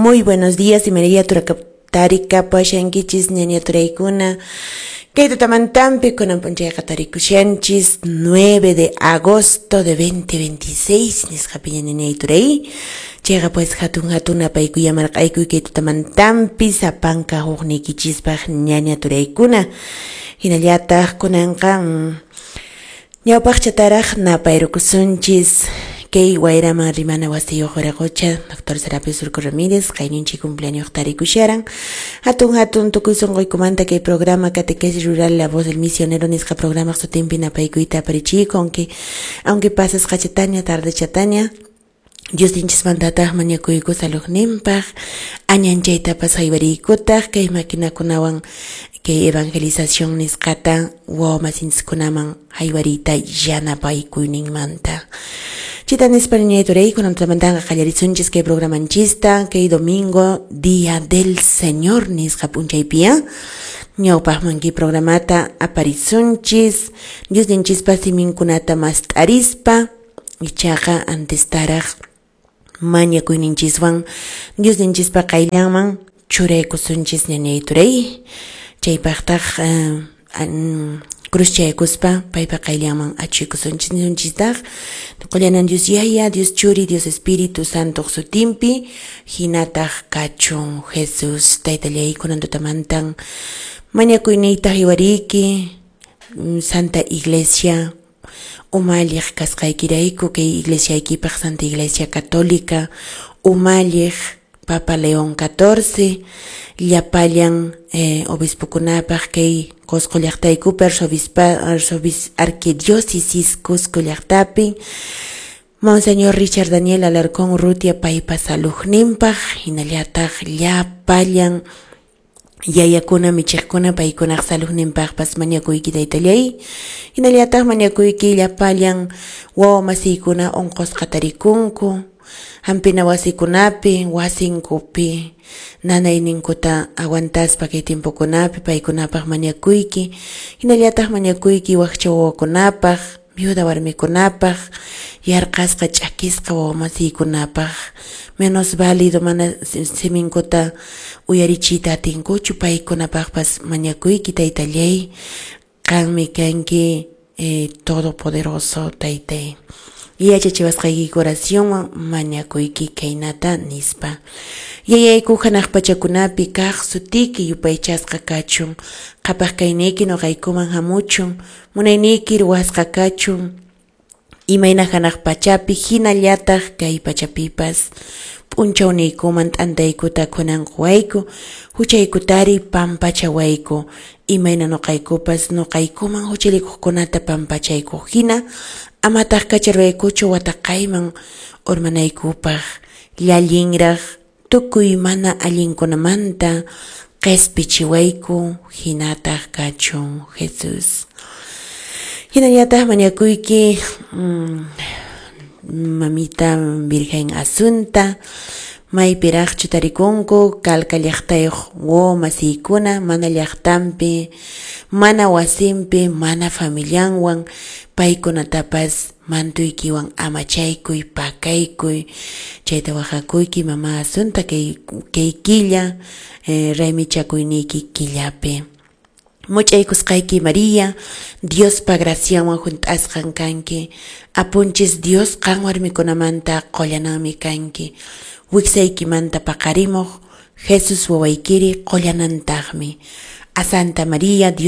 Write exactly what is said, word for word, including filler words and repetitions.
Muy buenos días, imaynalla tarikapushankichis ñaña turaykuna. Kay tutamantampi kunan p'unchayqa tarikushanchis nueve de agosto de dos mil veintiséis nisqapiña, ñañay turay. Chayqa pues hatun hatun napaykuy marq'aykuy kay tutamantampi sapanka hukniykichispaq, ñaña turaykuna. Hinallataq kunanqa mm, ñawpaqchataraq napayrukusunchis kay Wayraman Rimana wasiyuq wiraqocha Doctor Serapio Surco Ramírez, qayninchik cumpleaños tarikusharan. Hatun hatun tukuy sunquykumanta kay programa Catequesis Rural La Voz del Misionero nisqa programa sutinpi napaykuyta aparichiyku, aunque aunque pasasqachataña tardechataña. Dios ninchismantataq mañakuyku saludninpaq, añanchaytapas haywariykutaq kay maquinakunawan kay evangelización nisqata wawa masinchiskunaman haywariyta yanapaykuyninmanta. Chita nispa, ñañay turay, kunan tutamantaqa qallarisunchis kay programanchista kay domingo, Día del Señor nisqa p'unchaypiya. Ñawpaqman kay programata aparisunchis Dios ninchispa siminkunata mast'arispa, ichaqa antestaraq mañakuyninchiswan Dios ninchispa qayllanman churaykusunchis, ñañay turay. Chaypaqtaq uh, cruzchaykuspa paypa qayllanman achuykusunchis. Nisunchistaq: Qullanan Dios Yaya, Dios Churi, Dios Espíritu Santo sutinpi, hinataq kachun. Jesús Taytallay, kunan tutamantan mañakuyniyta haywariyki Santa Iglesia umalliq kasqaykirayku, kay iglesiaykipaq Santa Iglesia Católica umalliq Papa León catorce, llapallan eh, obispokunapaq kay Cusco llaqtaykupi, arzobispa arzobis arquidiócesis Cusco llaqtapi, Monseñor Richard Daniel Alarcón Urrutia paypa saludninpaq, hinallataq llapallan yayakuna michiqkuna paykunaq saludninpaqpas mañakuyki, taytallay. Hinallataq mañakuyki llapallan wawa masiykuna unqusqa tarikunku hampina wasikunapi, wasinkupi nanayninkuta aguantaspa kay tiempokunapi, paykunapaq mañakuyki. Hinallataq mañakuyki wakcha wawakunapaq, viuda warmikunapaq, yarqasqa ch'akisqa wawa masiykunapaq, menos válido, mana siminkuta uyarichiyta atinkuchu, paykunapaqpas mañakuyki, taytallay. Qanmi kanki eh, todopoderoso, taytay. Yachachiwasqayki oracionwan mañakuyki kaynata nispa: Yayayku hanaq pachakunapi kaq, sutiyki yupaychasqa kachun, qhapaq kayniyki nuqaykuman hamuchun, munayniyki ruwasqa kachun, imayna hanaq pachapi hinallataq kay pachapipas. P'unchawniykuman t'antaykuta kunan quwayku, huchaykutari pampachawayku, imayna nuqaykupas nuqaykuman huchallikuqkunata pampachayku hina, amataq kacharwaykuchu wataqayman urmanaykupaq, llallinraq tukuy mana allinkunamanta qispichiwayku, hinataq kachun, Jesús. Hinallataq mañakuyki mm, mamita Virgen Asunta, maypiraqchu tarikunku Calca llaqtayuq wawa masiykuna, mana llaqtanpi, mana wasinpi, mana familianwan, paykunatapas mantuykiwan amachaykuy, pakaykuy. Chayta waqhakuyki, mama Asunta, kay, kay killa eh, raymichakuyniyki killapi. Much'aykusqayki María, Diospa gracianwan hunt'asqan kanki. Apunchis Dios qan warmikunamanta qullananmi kanki. Wiksaykimanta paqarimuq Jesus wawaykiri qullanantaqmi. A Santa María, Dios